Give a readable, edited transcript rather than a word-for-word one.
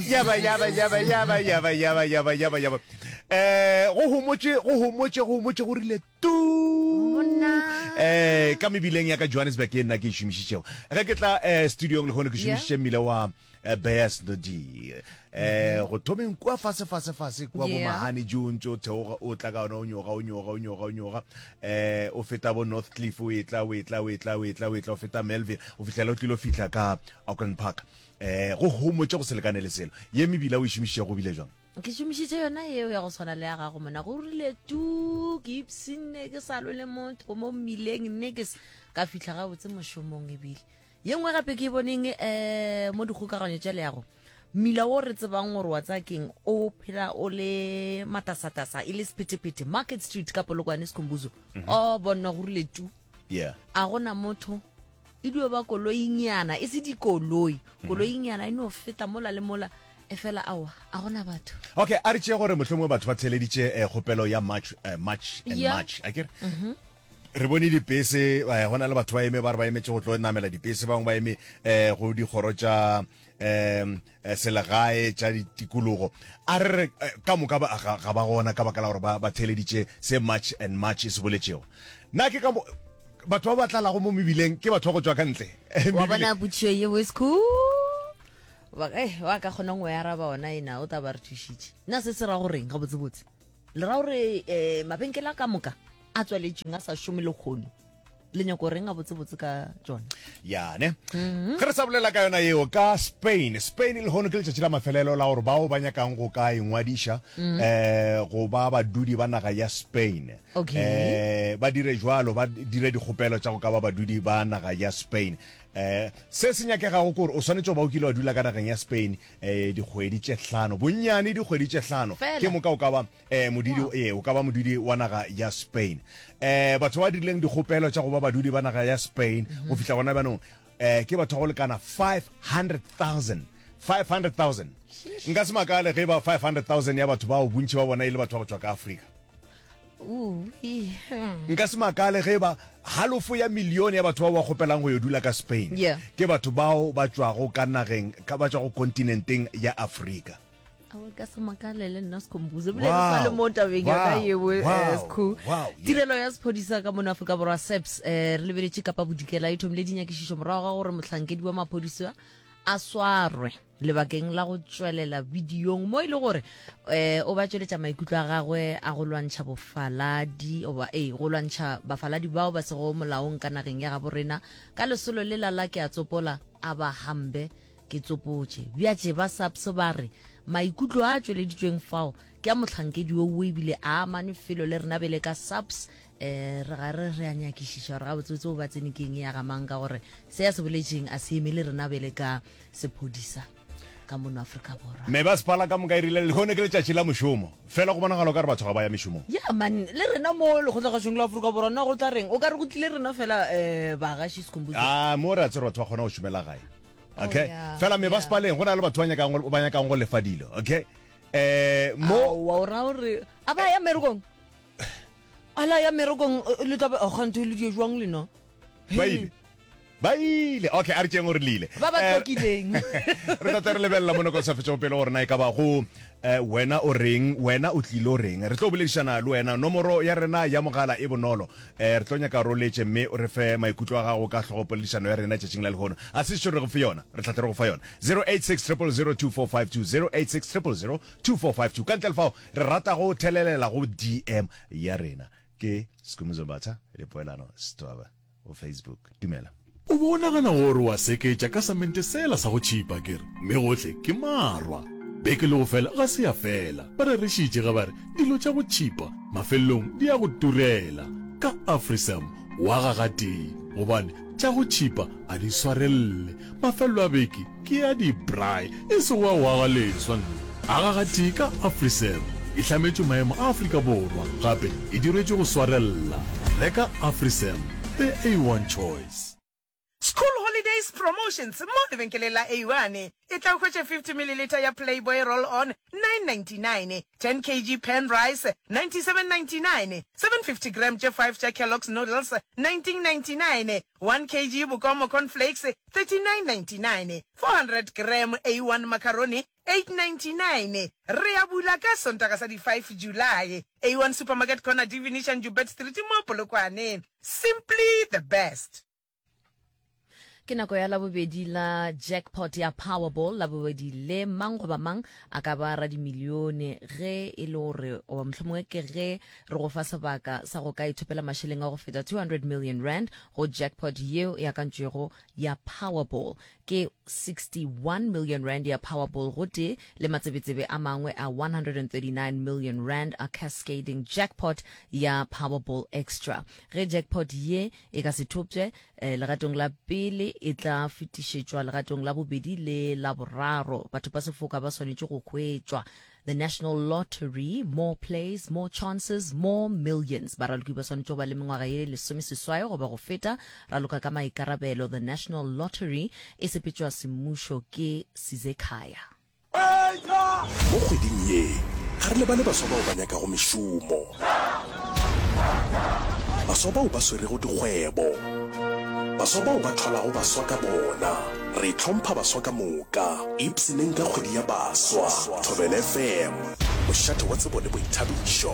Yaba yaba yaba yaba yaba yaba yaba yaba yaba. Eh go homotše go homotše go homotše go rile tu. Eh ka mebileng ya ka Johannesburg e nna ke e šomišitšego. Ge ke tla eh studiong lehono ke šomišitše mmila wa eh, Bears Nodi. Eh go thomeng kua fase fase fase kua bo Mahane Joe ntse o theoga o tla ka ona o nyoga o nyoga o nyoga o nyoga eh o feta bo North Cliff o etla o etla o etla o etla o etla o feta Melville o fihlela o tlilo fihla ka Auckland Park. Eh, go homotše go se lekane le selo. Ye mebila o e šomišitšego go bile jwang? Ke šomišitše yona yeo ya go tshwana le ya gago mona. Go rile tu, ke ipshinne ke sa lwe le motho mo mmileng nne ke ka fihla gabotse mošomong ebile. Ye nngwe gape ke e boneng um mo dikgokaganyo tša leago, mmila wo re tsebang gore wa tsaya keng o phela o le matasatasa e le sephethephethe, Market Street ka Polokwane Sikhumbuzo. O bona go rile tu. Yeah. A gona motho. E dio ba koloinyana, e se dikoloi. Mhm. Koloinyana e no feta mola le mola, e fela aowa, a gona batho. Okay, a re tšee gore mohlomongwe batho ba theeleditše eh, kgopelo ya March, eh, March and Yeah. March, a kere? Re bone dipese, eh, go na le batho ba eme ba re ba emetše go tlo namela dipese, bangwe ba eme eh, go dikgoro tša um selegae tša ditikologo. A re re eh, ka moka ba, ga, ga ba gona ka baka la gore ba, ba theeleditše se March and March e se boletšego. Na ke ka mo batho ba ba tlalago mo mebileng ke batho ba go tšwa ka ntle? Wa bona potšišo ye boys wa eh, wa ka kgonang go e araba ona ena o tla ba re thušitše. Na se se ra goreng gabotsebotse? Le ra gore um mabenkele a ka moka a tswaletšweng a sa šome lekgono le nyako reng gabotsebotse ka tšona? Yane ge re sa bolela ka yona yeo ka Spain, Spain lehono ke letšatši la mafelelo la gore bao ba nyakang go ka ingwadiša um go ba badudi ba naga ya Spain Okay. eh ba dire jwalo, ba dire dikgopelo tša go ka ba badudi ba naga ya Spain. Eh se se nyakegago ke gore o swanetše go ba o kile wa dula ka nageng ya Spain eh dikgwedi tše hlano, bonnyane dikgwedi tše hlano, Fela. ke moka o ka ba eh modudi Wow. eh o ka ba modudi wa naga ya Spain. Eh batho ba dirileng dikgopelo tša go ba badudi ba naga ya Spain go fihla gona bjanong eh ke batho ba go lekana 500,000. 500,000. Nka se makale ge e ba 500,000 ya batho bao bontši ba bona e le batho ba go tšwa ka Afrika. Nka se makale ge e ba halofo ya milione ya batho bao ba kgopelang go yo dula ka Spain Yeah. ke batho bao ba tšwago ka nageng, ka, ba tšwago kontinenteng ya Afrika. Aowa, ka se makale le nna Skhumbuzo. Ebile re sa le Wow, mo tabeng yona wow, yeo, eh, wow, Skhu. wow, yeah. Tirelo ya sephodisa ka mono Afrika Borwa SAPS eh, re lebeletše Kapa Bodikela e thomile dinyakišišo morago ga gore mohlankedi wa maphodisa a swarwe lebakeng la go tšwelela bidiong mo e le gore eh o ba tšweletša maikutlo a gagwe a go lwantšha bofaladi oba ee go lwantšha bafaladi bao ba sego molaong ka nageng ya gabo rena ka lesolo lela la ke a tsopola a ba hambe ke tsopotše bjatše ba SAPS ba re maikutlo a tšweleditšweng fao ke a mohlankedi wo o ebile a amane felo le rena bele ka SAPS eh re ga re re a nyakišiša gore gabotsebotse o ba tsene keng ya ga mang ka gore se ya se boletšeng a se emele rena bele ka sephodisa ka mono Afrika Borwa. Mebasepala ka moka e rile lehono ke letšatši la mošomo, fela go bonagala o ka re batho ga ba ya mešomong. Ya man, le rena mo lekgotlagašong la Afrika Borwa na go tla reng? O ka re go tlile rena fela um bagaši Sikhumbuzo. Ah, mo re a tsere batho ba kgona go šomela gae. Oh, Okay. yeah, Fela yeah. mebasepaleng go na le batho ba nyakang go ba nyakang go lefa dilo, okay? Eh mo Aowa, o ra gore a ba ya mmerekong? A la ya mmerekong eh, le tla be a kganthe le die jwang lena? Ba ile. Ba ile. Okay, a re tšeeng gore le ile. Ba ba Eh, tlhokileng. re tla tla re lebelela mo nakong sa fetšego pele gore na e ka ba go eh, wena o reng, wena o tlile o reng. Re tlo boledišana le wena. Nomoro ya rena ya mogala e bonolo. Eh, re tlo nyaka re o letše mme o re fe maikutlo a gago ka hlogopoledišano ya rena tšatšing la lehono. A se sešo re go fe yona, re tla tle re go fa yona. 086 000 2452, 086 000 2452. Ka ntle le fao, Re rata go thelelela go DM ya rena. Ke Skhumbuzo Mbatha le Poelano Setwaba go Facebook. Dumela. O be o nagana gore wa seketša ka samente sela sa go tšhipa akere? Mme gohle ke marwa. Beke le go fela ga se ya fela. Ba rerešitše ge ba re dilo tša go tšhipa mafelelong di a go turela. Ka Afrisam o aga gatee gobane tša go tšhipa a di swarelele. Mafelelo a beke ke a di-braai e sego a go aga leswa. Aga gatee ka Afrisam e hlametšwe maemo a Afrika Borwa gape e diretšwe go swarella. Reka Afrisam, the A1 choice. School holidays. Promotions mo lebenkeleng la A1. Etla o hwetše 50 mililitha ya Playboy Roll On, 9.99, 10 kg Pan Rice, 97.99, 750 gram tše 5 tša Kellogg's Noodles, 19.99, 1 kg Bokomo Corn Flakes, 39.99, 400 gram A1 Macaroni, 8.99. Re a bula ka Sontaga sa di 5 July. A1 Supermarket Corner Divination Joubert Street mo Polokwane. Simply the best. Ke nako ya Labobedi la jackpot ya Powerball. Labobedi le mang goba mang a ka ba radimilione ge e le gore, goba mohlomongwe ke ge re go fa sebaka sa go ka ithopela mašeleng a go feta 200 million rand go jackpot yeo e akantšwego ya Powerball. Ke 61 million rand ya Powerball gotee le matsebetsebe a mangwe a 139 million rand a cascading jackpot ya Powerball Extra. Ge jackpot ye e ka se thopše legatong la pele, e tla fetišetšwa legatong la bobedi le la boraro. Batho ba sefoka ba swanetše go hwetšwa. The National Lottery, More Plays, More Chances, More Millions. Baraloki ba swanetše go ba le mengwaga ye lesomeseswai goba go feta. Raloka ka maikarabelo. The National Lottery e sepetšwa semmušo ke Sizekhaya. Mo kgweding ye, ga re lebale baswa bao ba nyakago mešomo, baswa bao ba swerego dikgwebo, baswa bao ba thwalago baswa ka bona. Re hlompha baswa ka moka. Ipshineng ka kgwedi ya baswa. Thobela FM, mošate wa tsebo le boithabišo.